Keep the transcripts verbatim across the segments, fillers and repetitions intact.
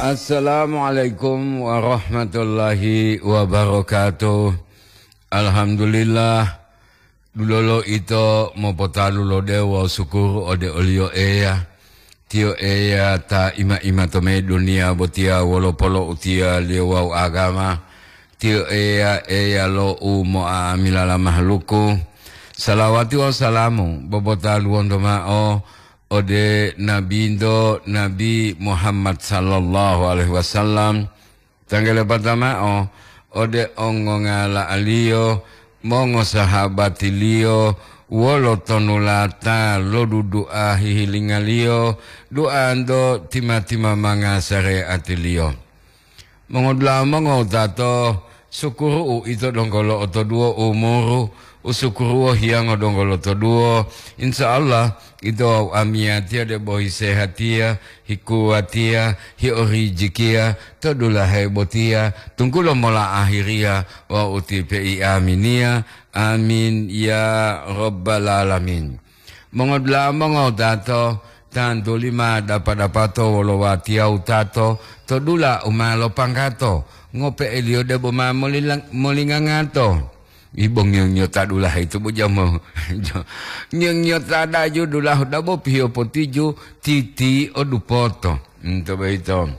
Assalamualaikum warahmatullahi wabarakatuh. Alhamdulillah, dulolo ito mopotalu lo dewo wawu sukuru ode oliyo Eya. Tiyo Eya ta ima-ima to me duniya botiya wolo polo'utiyaliyo wawu agama. Tiyo Eya, Eya lo u mo'amilala mahaluku. Salawati wawu salamu bobotaluwonto ma'o ode Nabinto, Nabi Muhammad sallallahu alaihi wasallam, tanggalepata ma'o ode ongongala'aliyo, mongosahabatiliyo, wolo tonulata lodudua hihilingaliyo, duanto tima-timamanga sareatiliyo. Mongodula'a mongowutato, sukuru'u ito donggo lo'otoduwo umuru, usukuruwo hiyango donggo lotoduwo. Insya Allah, ito wawu amiyatiya debo hisehatiya, hikuwatiya, hiorijikiya, to dulahe botiya, tunggulo mola ahiriya wawu utipe iaminiya. Amin, ya Rabbal Alamin. Mongodula'a mongowutato, tantuli ma dapa-dapato wolo watiya wutato to dula u ma lopanggato, ngope'eliyo debo ma molilang-, molingangato. Ibo ngiyo-ngiyota dulahe ito bo jamo. Ngiyo-ngiyota daju dulahu dabo piyo potiju titi o dupoto. Nto boyito.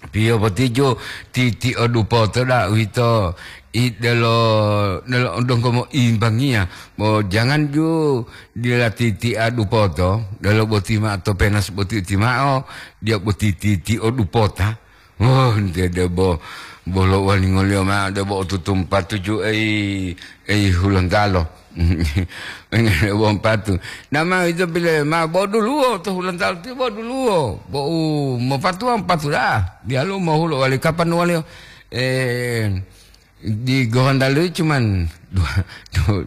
Piyo potiju titi o dupoto da uwito i delo, delo donggo moimbangiya. Bo jangan ju dila titi a dupoto, delo boti ma'o to penas boti uti ma'o, dia boti titi o dupota. Oh, nte debo bolo walingoliyo ma'o debo otutumpa tuju ei, ei Hulontalo. Wong patu. Nama ito pile ma boduluwo to Hulontalo ti boduluwo. Bo u mopatuwa patu dah. Dialu mohulo wali kapan wali, eh, di Gorontalo cuman dua, dua,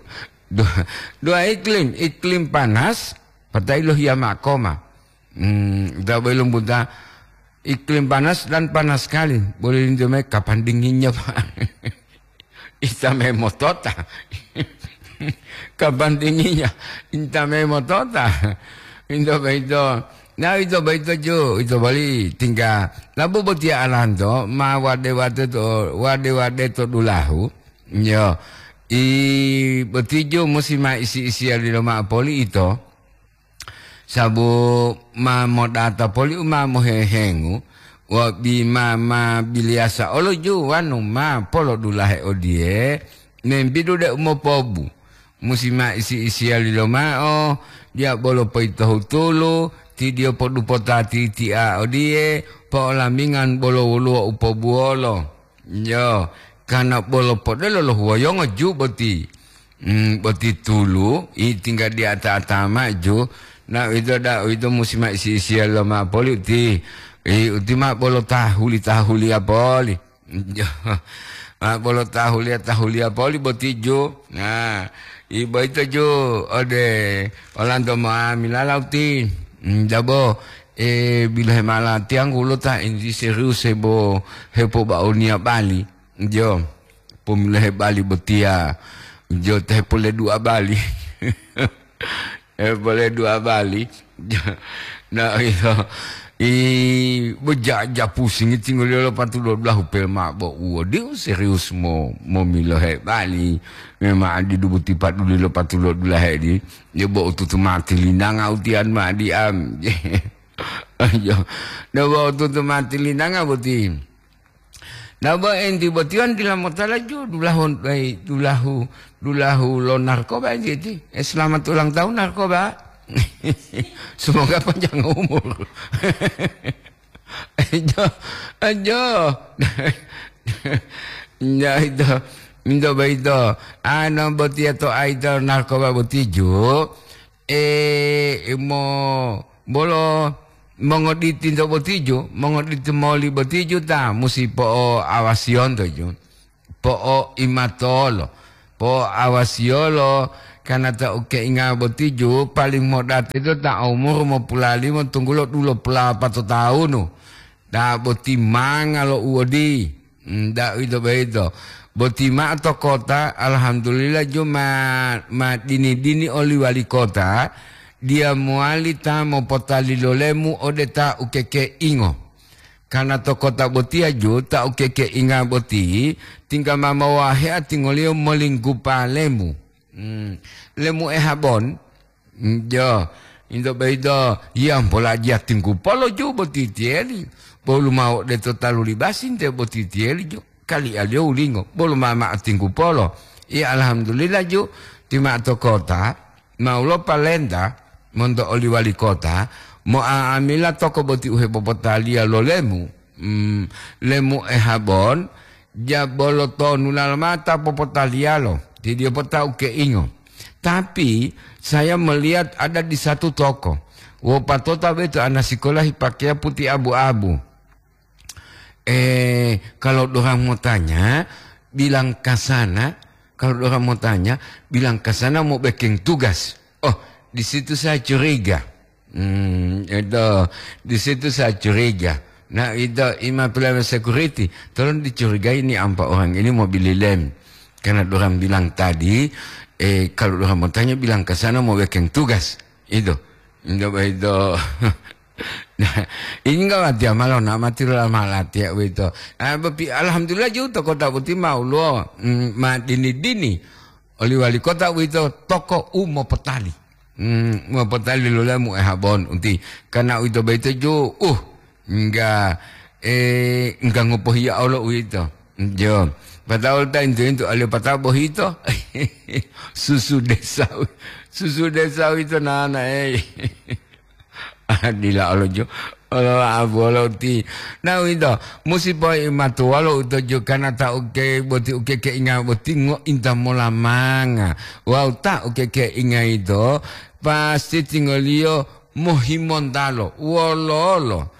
dua, dua iklim, iklim panas, patai lo hiya makoma. Hmm, da belum buta iklim panas dan panas sekali. Boleh lintu mai kapan dinginnya, Pak? Ita memotota. Kapan dinginnya? Ita memotota. Ito boyito. Nah, ito boyito ju, ito boli tingga. Labu botiya alanto, ma wade-wade to, wade-wade to dulahu. Yo, i botiju musi ma isi-isiya lilo ma'o poli ito. Sabu ma modata poli u ma mohehengu, wa bima ma biliyasa olo ju wanu ma polodulahe odiye, membidu de umopobu. Musi ma isi-isiya lilo ma'o, diya bolo poyitohutulu, tidiyo podupota titi'a odiye, po'olamingan bolo woluwo u pobuwolo. Yo, kana bolo podelo lo huwoyongo ju boti. Hmm, boti tulu, i tingga di ata-ata maju. Na uwito da, uwito musi ma isi-isiya lo ma poli uti. I uti ma bolo tahuli-tahuliya poli. Jo, ma bolo tahuliya-tahuliya poli boti ju. Nah, i boyito ju ode olanto ma milala uti. Hmm, jabo, eh, bilohe mala tiyanggu lo ta enti serius hebo, hepobaoniya bali. Jo, pomilohe bali botiya. Jo, te pole dua bali. Eh, pole dua bali. Nah, iya. I, bejaja pusingi tinggoliyo lo patu dua belas hupe ma bo uwo. Diu serius mo, momilohe bali. Memang adi dubuti paduli lo patu dua belas hedi. Dia bo ututu mati linanga utian ma adi am. Ayo. Dia bo ututu mati linanga boti. Nah, bo enti botiyon dila motala ju dulahu, eh, dulahu, dulahu lo narkoba enti iti. Eh, selamat ulang tahun narkoba. Semoga panjang umur. Ayo, ayo. Ya itu, minta baito. Ano botiya to aito narkoba botiju. Eh, mo, bolo mongoditi nto botiju, mongoditi moli botiju ta musi po'oawasiyonto ju. Po'oimatolo, po'oawasiyolo, karna ta ukeinga botiju paling modate to ta umur mopulalimo tunggulo dulopulapato tawunu. Ta boti manga lo uwodi. Hmm, da uwito boyito. Boti ma'o to kota, alhamdulillah, ju ma, ma dini-dini oli wali kota, diya mowali ta mopotalilolemu ode ta ukekeingo. Karena to kota botiya ju ta ukekeinga boti, tingga ma mowahea tingoliyo molinggupa lemu. Hmm, lemu ehabon. Hmm, jo, into boyito, yiyampola jiya tinggupolo ju boti tiyeli. Bolu mao de to talu libasi nte boti tiyeli ju. Kalialiyo wulingo, bolu ma mao tinggupolo. Iya, alhamdulillah ju, ti mao to kota, mau lopalenta monto oli wali kota, mo'amila toko boti u hepopotaliya lo lemu, mm, lemu ehabon, jabolo tonu lalomata popotaliyalo, ti diyo potau keingo. Tapi, saya melihat ada di satu toko, wopatota boyito ana sikola hipakeya puti abu-abu. Eh, kalau dorang mau tanya, bilang ke sana. Kalau dorang mau tanya, bilang ke sana mau bikin tugas. Oh, di situ saya curiga. Hmm, itu, di situ saya curiga. Nah, itu ima pelayanan security. Tolong dicurigai ini empat orang ini mau beli lem. Karena dorang bilang tadi, eh, kalau dorang mau tanya, bilang ke sana mau bikin tugas. Itu. Itu, itu. Nah, ini enggak mati amal, nak mati lah malah tiap itu. Ah, bepi-, alhamdulillah juga toko tak putih mau lo, mm, ma dini-dini. Oli wali kota uwito toko u mopotali. Hmm, mopotali lolamu ehabon unti. Karena uwito boyito ju, uh, enggak, eh, enggak ngopohiya olo uwito. Jo. Patau ta intu-intu alio patau bohito. Susu desa, susu desa uwito nana, eh. Dila olo jo, olo abu olo uti. Na uwito, musi poimatuwalo uto jo kana ta uke boti uke keinga boti ngointa mola manga. Wawu ta uke keinga ito, pasti tingoliyo mohimontalo. Wololo?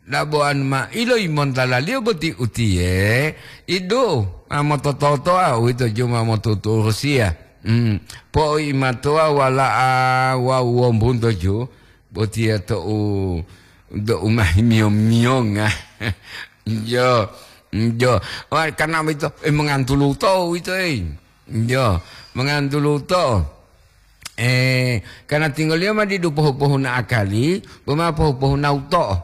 Dabo'anu ma ilo imontalaliyo boti utiye, idu, ma motototoa uwito jo ma motuturusiya. Hmm, poimatoa wala'a wawu wombunto jo. Botiya to'u, to'u mahimiyo-miyonga. Jo, jo. Wah, karena uwito, eh, mongantulu to uwito, eh. Jo, mongantulu to. Eh, karena tinggoliyo ma didu pohu-pohuna akali, boma pohu-pohuna uto'o.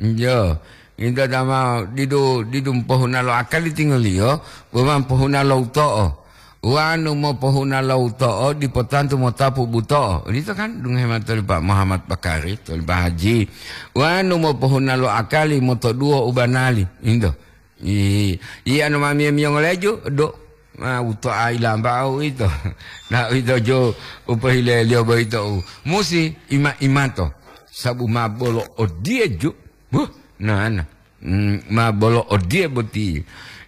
Jo, ito dama didu, didu pohuna lo akali tinggoliyo, boma pohuna lo uto'o. Wanu mopohuna lo uto'o dipo tantu motapu buto'o. Odito kan, dungohe mao toli Pak Muhammad Bakari, toli Pak Haji. Wanu mopohuna lo akali motoduwo u banali. Into. I, i anu ma miyo-miyo ngoleju, do. Ma uto'a ilamba'o uwito. Na uwito jo u pohileliyo boyito u musi ima-imato. Sabu ma bolo odiye ju. Huh, nana. Mm, ma bolo odiye boti.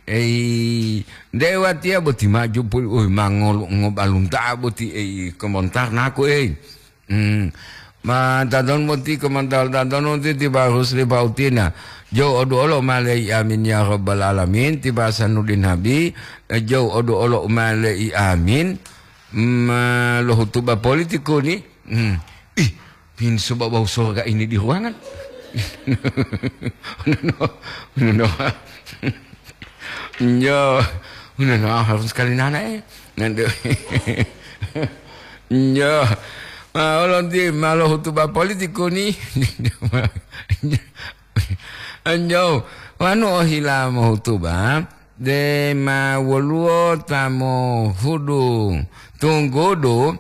Ei, nde watiya boti maju puli, ui, ma ngolu-, ngobalunta'a boti, ei, komontar naku, ei. Mm. Ma tadon boti komontar tadon boti tiba Rusli Pautina. Jou odu olo malei amin ya rabbal alamin, tiba Sanudin Nabi, eh, jou odu olo malei amin. Ma lohutuba politiku ni. Mm. Ih, pinso bau-bau sorga ini di ruangan. No, no, no. Yo, no, no, harus sekali nana, eh. Nanti. Yo. Ma, olonti malo hutuba politiku ni. Anjo, wanu ohila mohutuba, de ma woluwo ta mohudu tunggudu,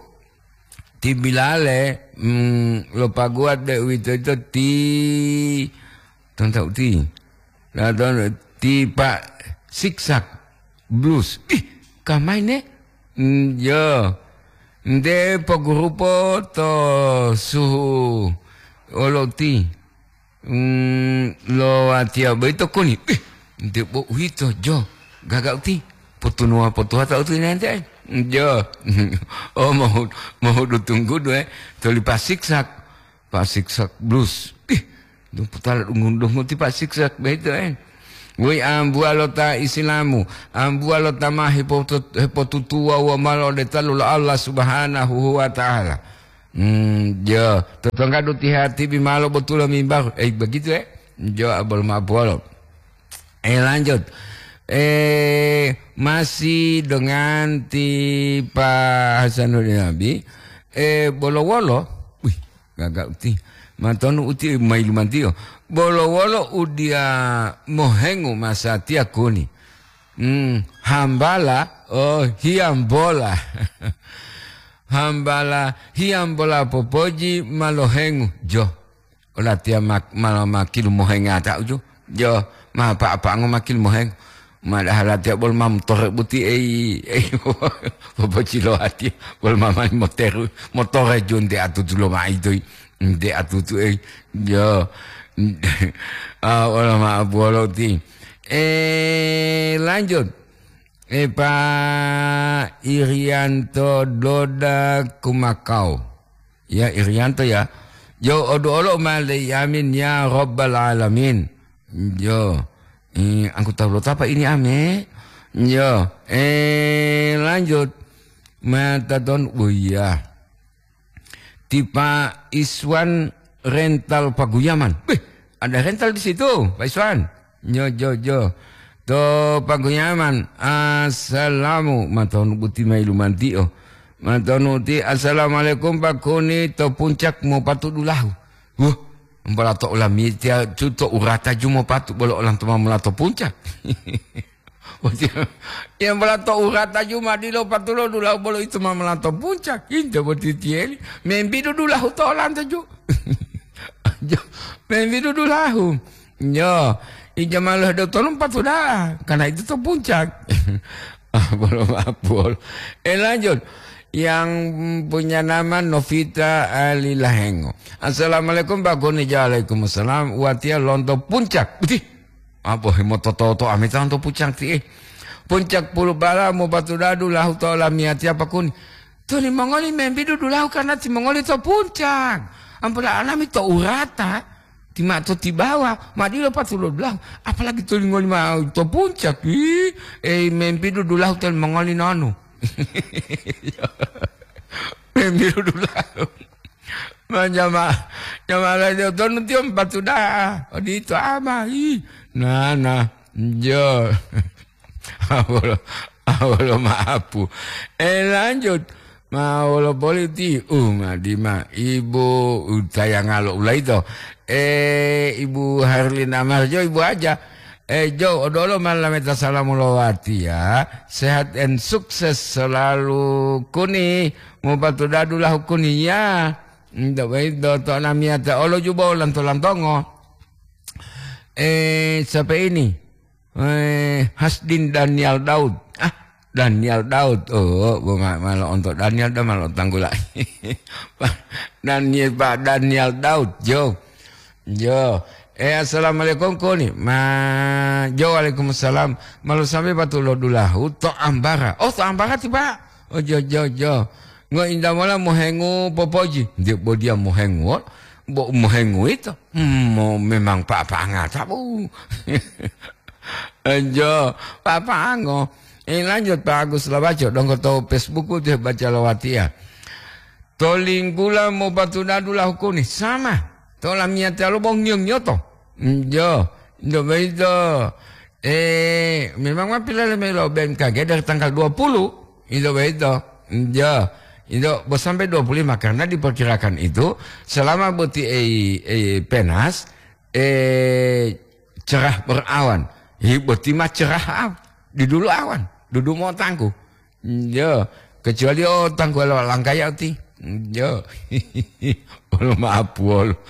ti bilale, mm, lo paguwa, deuwitoyito ti, tonta uti, la ton-, ti pa siksak blus. Ih, kamai ne? Mm, yo. Nte pogurupo to suhu olo uti. Mm, lo watiya boyito koni, "Ih, nte bo uwito, jo, gaga uti, potunuwa potuwata uti nente, jo." Oh, mohu-, mohudu tunggudu, eh, toli pasiksak, pasiksak blus. Ih, duputala dungu-dungu ti pasiksak boyito, eh. Woi ambuwa lo ta Isilamu, ambuwa lo ta ma hepotu-, hepotutuwa wo malo de talu lo Allah Subhanahu wa Ta'ala. Hmm, jo, totonggadu ti hatibi malo botulo mimbaru. Eh, begitu, eh? Jo, abol ma'apolo. Eh, lanjut. Eh, masih dengan ti Pak Hasanuddin Nabi. Eh, bolo-wolo. Wih, gaga uti. Matonu uti mailumantiyo. Bolo wolo udiya mohengu masatiya kuni. Hmm, hambala, oh, hiyambola. Hambala hiyambola popoji malohengu. Jo. Olatiya mak-, mala makilu mohengata uju. Jo, ma apa-apango makilu mohengu. Madahala tiya bolo ma motore buti ei, ei, popocilo atiya bolo ma mali moteru, motore ju nte atutu lo ma itoi, nte atutu ei, yo. Ah, wala ma abuwalo ti. Eh, lanjut. Eh, Pak Irianto Doda Kumakau. Ya, Irianto ya. Yo, odu olo ma le yamin ya Rabbal Alamin. Yo. Eh, anggota lo tapa ini ame? Yo, eh, lanjut. Mata ton, oh iya. Tipa Iswan rental Paguyaman. Beh, ada rental di situ, Pak Iswan. Yo, yo, yo. To Paguyaman, assalamu, matonu buti mai lumantio. Matonu ti, "Assalamualaikum, Pak Kuni, to puncak mau patudulahu." Wah, mbala to olamiyatiya ju to urata ju mopatu bolo olanto ma mola to puncak. Watiya, ya mbala to urata ju ma dilo patulo dulahu bolo ito ma mola to puncak. Inte boti tiyeli. Membidu dulahu to olanto ju. Jo, membidu dulahu. Yo, ija malo do tolong patu da'a. Karena itu to puncak. Ah, bolo maaf, bolo. Eh, lanjut. Yang punya nama Novita Ali Lahengo. "Assalamualaikum, Pak Kuni." "Waalaikumsalam." "Watiya lonto puncak." Betul. Apa himototo-toto amita lonto puncak ti, eh. "Puncak Pulubala mopatudadu lahu to lamiyatiya, Pak Kuni." "To limongoli membidu dulahu karena timongoli to puncak. Ampola alami to urata." Ti ma to tibawa, ma dilo patulo dulahu, apalagi to lingoli ma to puncak. Ih, ei, membidu dulahu to limongoli nonu. Membidu dulahu. Ma jama-, jama lainnya tonu tiyo patu da'a. Odito ama, ih, nana, jo. Awolo, awolo maapu. Eh, lanjut. Ma wolo boli ti, uh, madima, Ibu utayanga lo ulaito. Eh, Ibu Harlina Marjo, Ibu Aja. Eh, Jo, odolo malameta salamu lowatiya. Sehat and sukses selalu Kuni. Mupatudadu lahu Kuni, ya. Ndak baik, do, to namiyata olo juba lanto-lantongo. Eh, siapa ini? Eh, Hasdin Daniel Daud. Ah, Daniel Daud. Oh, bo ma-, malo onto Daniel da malo tanggula. Daniel, Pak Daniel Daud, jo. Jo. Eh, assalamualaikum, Kuni. Ma, jo, waalaikumsalam. Malu sampai batu lo dulahu, to ambara. Oh, to ambara ti, Pak. Oh, jo, jo, jo. Ngo inda mola mohengu popoji. Nde bo dia mohengu, bo mohengu ito. Hmm, mo-, memang pa-, pangata, bu. Enjo, papango. Eh, lanjut, Pak Agus Labaco, donggo to Facebook u teh baca lowatiya. To linggula mopatudadu lahu Kuni, sama. To lamiyatiya lo bo ngiyo-ngiyoto. Enjo, enjo boyito. Eh, memang ma pilele mayi lo B M K G dari tanggal dua puluh. Enjo boyito. Enjo. Enjo, bo sampai dua puluh lima, karena diperkirakan itu selama boti ei, ei, penas, eh, cerah berawan. Hi, boti ma cerah aw-, di dulu awan, dudu mo tangku. Yo, kecuali o tangku lo langkaya uti. Yo. Olo maaf wolo.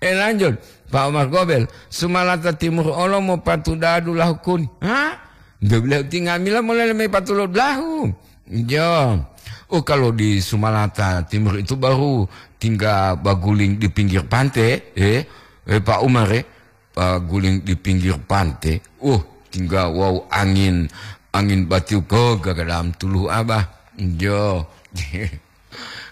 Eh, lanjut. Pak Omar Gobel, Sumalata Timur olo mo patudadu lahu Kuni. Ha? Nde bile uti ngamila molele mai patulo dulahu. Yo. Oh, kalau di Sumalata Timur itu baru tinggal baguling di pinggir pantai, eh. Eh, Pak Umar, eh. Paguling di pinggir pante. Uh, tingga wawu angin, angin batiu ko gagadam tuluhu abah. Jo.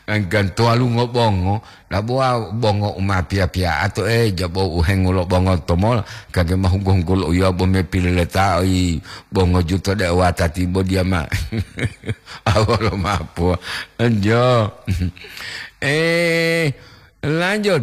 Angkan toalu ngobongo, labuwa bongo uma piya-piya ato, eh, jabo uhengulo bongo tomola, kage mahunggu-hunggul uya bo me pilileta, oi, bongo juto de watati bo diama. Awalo mapo. Jo. Eh, lanjut.